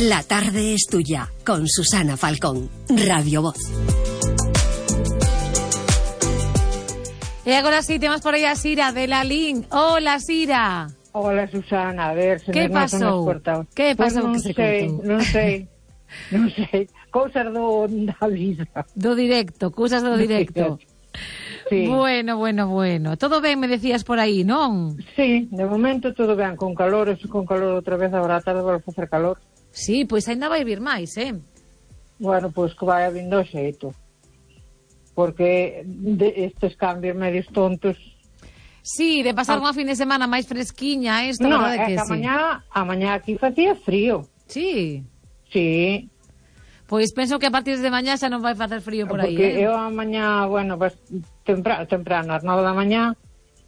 La tarde es tuya, con Susana Falcón, Radio Voz. E agora sí, temos por aí a Sira de Lalín. Hola, Sira. Hola, Susana, a ver se que nos pasou? Que pasou que se contou? Non sei. Cousas da vida. Do directo, cousas do directo. Sí. Bueno. Todo ben, me decías por aí, non? Sí, de momento todo ben, con calor outra vez, agora a tarde vai facer calor. Sí, pois ainda vai vir máis, Bueno, pois que vai vindo o xeito. Porque estes cambios medios tontos... Sí, de pasar unha fin de semana máis fresquiña, isto, no, verdade que sí. A mañá aquí facía frío. Sí. Sí. Pois penso que a partir de mañá xa non vai facer frío por aí, Porque eu a mañá, bueno, temprano, ás 9 da mañá,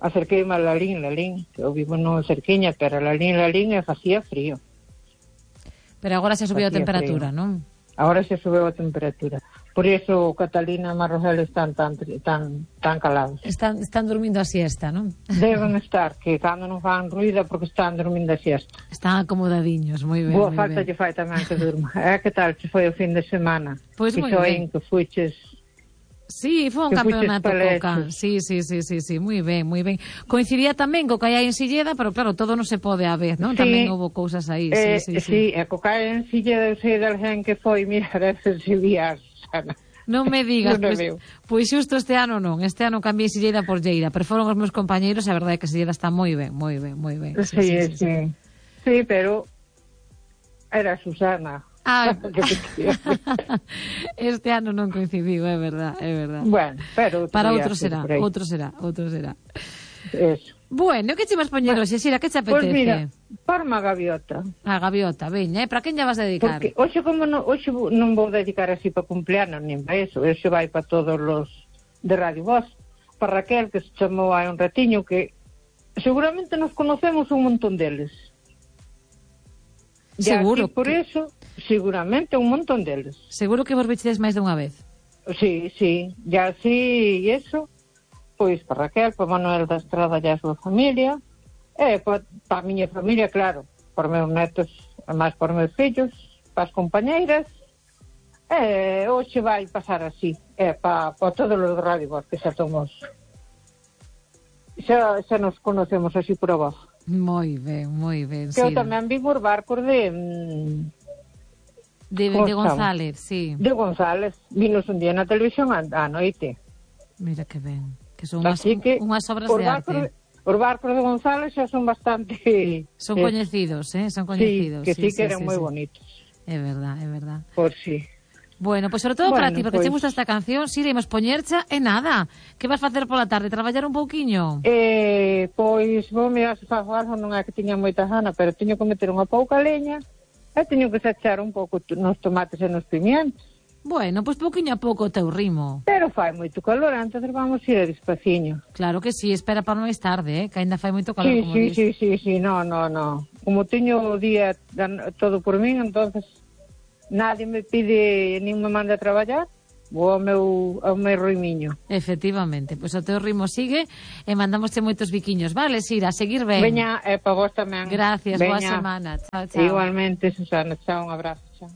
acerqueime a Lalín, que eu vivo no cerquiña, pero Lalín e facía frío. Pero agora xa subiu a temperatura, frío. Non? Agora xa subiu a temperatura. Por iso Catalina e Marrosel están tan calados. Están dormindo a siesta, non? Deben estar, que cando non fan ruído porque están dormindo a siesta. Están acomodadiños, moi ben. Boa falta lle fai tamén que durma. Que tal se foi o fin de semana? Pois moi ben. Que fuiches... Sí, foi un campeonato coca. Sí, moi ben. Coincidía tamén co que hai en Silleda, pero claro, todo non se pode a vez, non? Sí, tamén houve cousas aí. Sí, e co que hai en Silleda, eu sei de alguén que foi, mirar esas Silvias, Ana. Non me digas, non pois xusto este ano non. Este ano cambiei Silleda por Lleida, pero foron os meus compañeiros e a verdade é que Silleda está moi ben. Sí. Sí, pero era Susana. Este ano non coincidiu, é verdad. Bueno, pero para outro será. Eso. Bueno, que che vas poñer hoxe, Sira, que te apetece? Pois mira, parma a gaviota. A gaviota, veña, para quen lle vas a dedicar? Porque hoxe non vou dedicar así para cumpleanos, nin para eso. Hoxe vai para todos os de Radio Voz. Para Raquel, que se chamou hai un ratiño, que seguramente nos conocemos un montón deles. Seguro. Por eso, seguramente un montón deles. Seguro que vos vistedes máis dunha vez. Sí. Ya así, e eso, pois para Raquel, para Manuel da Estrada e a súa familia, e para a miña familia, claro, para meus netos, e máis para meus fillos, para as compañeiras, e hoxe vai pasar así, para todos os de Radio Voz, que xa somos... Xa nos conocemos así por a voz. Moi ben, que eu tamén vivo os barcos de González, sí. De González, vinos un día na televisión a noite. Mira que ben, que son unhas obras de arte. Os barcos de González xa son bastante... Son coñecidos, son coñecidos. Sí, que eran moi bonitos. É verdad. Por si. Bueno, pois sobre todo para ti, porque te gusta esta canción, si iremos poñercha e nada. Que vas facer pola tarde? Traballar un pouquiño? Pois vou mirar se fago algo, non é que tiña moita gana, pero teño que meter unha pouca leña e teño que sachar un pouco nos tomates e nos pimientos. Bueno, pois pouquiño a pouco o teu ritmo. Pero fai moito calor, entonces vamos ir a despaciño. Claro que sí, espera para máis tarde, que ainda fai moito calor, como dis. Sí, no. Como teño o día todo por min, entonces... Nadie me pide, nin me manda a traballar, vou ao meu ritmiño. Efectivamente, pois o teu ritmo sigue e mandámoste moitos biquiños, vale, Sira, a seguir ben. Veña, para vos tamén. Gracias, boa semana. Chao. Igualmente, Susana, chao, un abrazo, chao.